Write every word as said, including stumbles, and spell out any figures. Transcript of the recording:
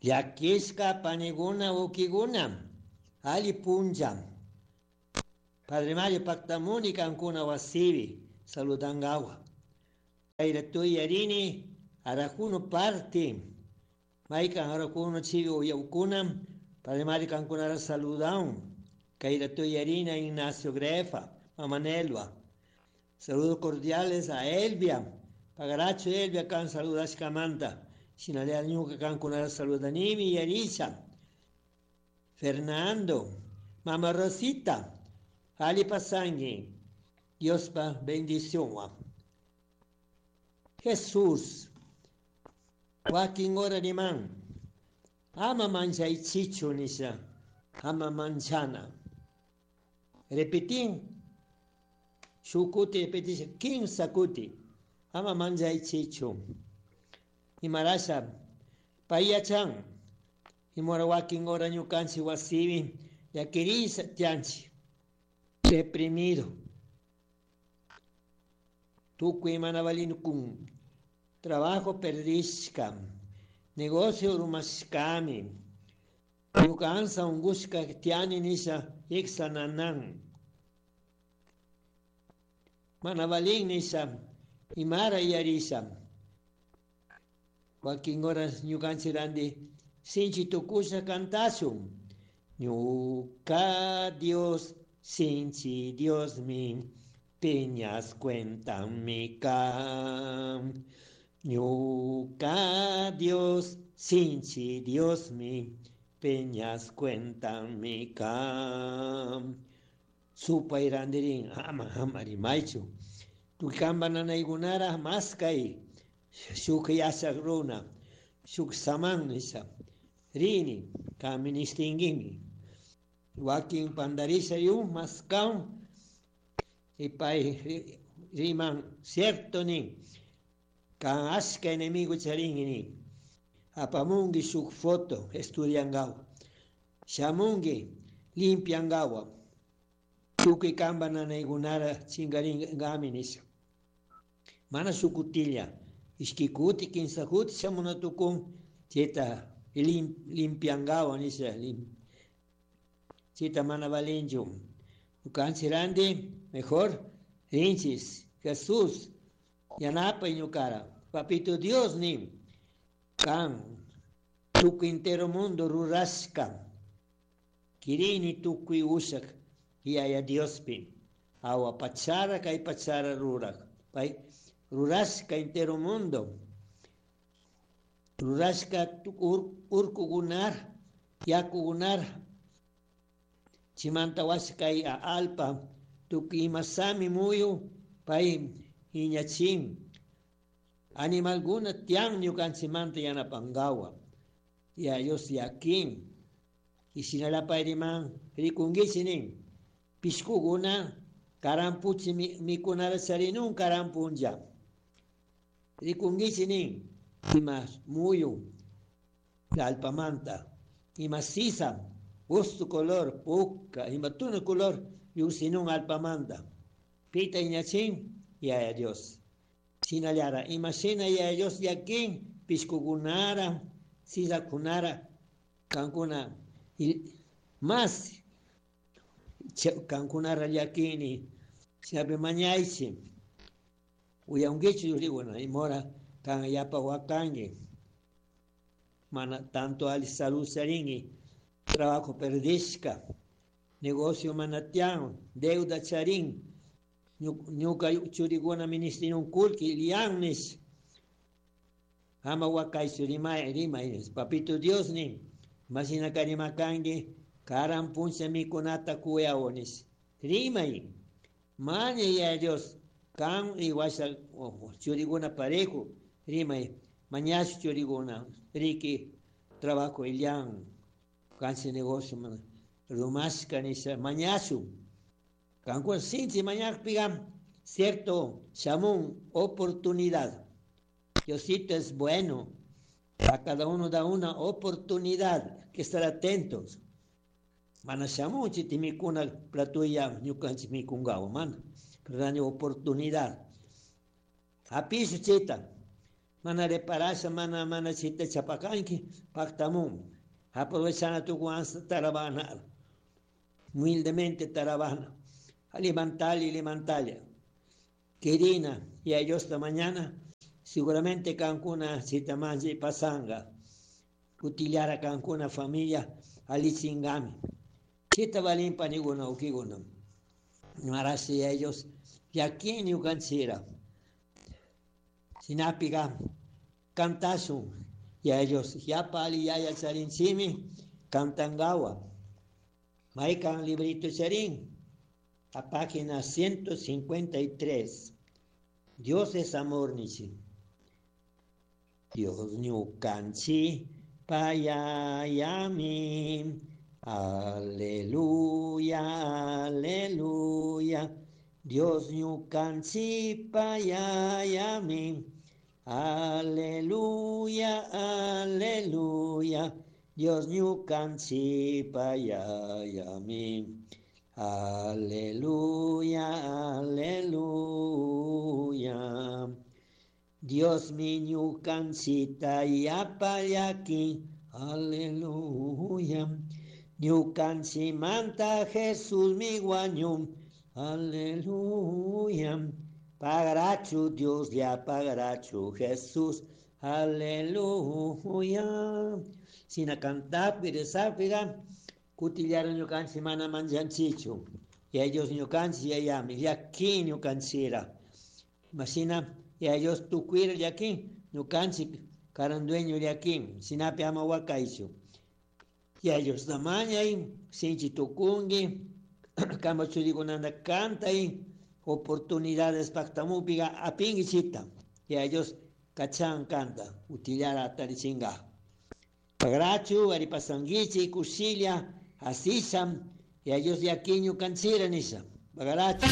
Llakishka paniguna ukiguna alli punlla. Padre Mario paktamuni kankuna wasipi saludangawa. Kayra yarini arajuno parte. Maykan arajuno chivi uyawkuna. Padre Mario kankunara saludaun. Kayra yarina Ignacio Grefa, Mama Nelva. Saludos cordiales a Elvia. Pagaracho Elvia kan saludashkamanta. Shinalea ñuka kankunara saludanimi Yarisha. Fernando, Mama Rosita, Ali Pasangui, Diospa bendición. Jesús, wakin hora riman, ama manchaychichu nisha, ama manchana. Repetin, shukuti repetisha, kimsa kuti, ama manchaychichu. Imarasha, payachan, imora wakin hora ñukanchik wasipi, llakirisa tianchik, deprimido. Tukuy mana kun trabajo perdishka, negocio rumashkami, ñuka ansa ungushka tiani nisha iksa nanan. Mana valin nisha, imara yarisha. Wakin horas ñukanchik randi sinchi tukusha kantashun. Ñuka Dios, sinchi Dios mi, piñas cuentan mi kan. Ñuka Dios, sinchi Dios mi, peñas cuentan mi kan. Supay randirin, ama ama rimaychu. Tukamba nanaykunara maskay, shuk yachak runa, shuk saman nisha. Rini, kaministinguimi. Wakin pandarisha yun maskaun, y pay riman cierto nin, kan ashka enemigo charingi nin. Apamungi shuk foto estudiangawa. Shamungi limpiangawa. Tukuy kamba nanaykunara chingaringami nisha. Mana shukutilla, ishki kuti, kinsa kuti shamuna tukun, chayta lim, limpiangawa nisha. Lim, chayta mana valinchu. Ñukanchik randi, mejor rinchis, Jesús, yanapay ñukara. Papito Dios nin, kan, tukuy entero mundo rurashka. Kirini tukuy ushak, yaya Diospi. Awa pachara kay pachara rurak. Pay rurashka entero mundo. Rurashka ur, urkugunar, yakugunar. Chimanta washkay a alpa, tukuy imasami muyu, pay iñachin. Animalguna tian ñukanchimanta yanapangawa. Ya Dios yakin. Y sinalapay riman, rikungichi nin. Pishkuguna, karampuchi mikunara charinun karampunlla. Rikungichi nin. Ima muyu, alpamanta. Ima sisa, gusto color, puka, ima tuna color, yusinun alpamanta. Pita iñachin, yaya Dios. Sinallara, ima shina yaya Dios yakin, pishkugunara, sisakunara, kankuna, más kankunara llakini, siape mañaychi, uyankichi yuriguna, imora kan yapa wakangi, mana tanto ali salud charingi, trabajo perdishka, negocio manatian, deuda charin, ñuka churiguna ministrinun kulki liannis, ama wakaychu rimay rimay, papito Dios nin, masina karimakangi, karan puncha mikunata kuyawonis, rimay, maña ya Dios, kan iwasha churiguna parejo, rimay, mañash churiguna, riki, trabajo ilian, kansi negocio, rumashka nisha, mañashu, kankuna sinchi mañakpiga, cierto, shamun, oportunidad. Diosito es bueno, a cada uno da una oportunidad, que estar atentos. Mana shamun chitimikuna platuya ñukanchik mikungawa, mana, pero dani oportunidad. Apishu chita, Mana reparasha mana mana chita chapakanki paktamun. Aprovechana tu guanza tarabana. Humildemente tarabana. Levantarle, levantarle. Querina, y a ellos esta mañana, seguramente kankuna chitamanji pasanga. Kutillara kankuna familia alichingami. Chita valin paniguna ukiguna. Marasi ellos, y aquí ñukanchira. Sinapiga cantasun y a ellos ya pali ya ya charinchimi cantangawa. Maikan librito charín a página ciento cincuenta y tres. Dios es amor nichi. Dios ñukanchi payayami. Aleluya, aleluya. Dios ñukanchi payayami. Aleluya, aleluya. Dios ñukanchi payayami. Aleluya, aleluya. Dios mi ñukanchita yapayaki. Aleluya. Ñukanchimanta Jesús mi guañum. Aleluya. Pagarachu Dios ya pagarachu Jesús. Aleluya. Sina cantar, piresapiga, kutillar ñukanchi mana manjanchichu. Y ellos ñukanchi yayami, y aquí ñukanchira. Masina, y ellos tukuira y aquí, ñukanchi karandueño y aquí, sinapi ama wakaichu. Y ellos tamañay, sinchi tukungi, kamba churikunanda cantay, oportunidades pactamupiga apingichita. Y ellos cachan canta, utillara tarichinga. Pagrachu, aripasanguichi, kusilia, asisam, y ellos de aquí ñukanchira nisa. Pagarachu.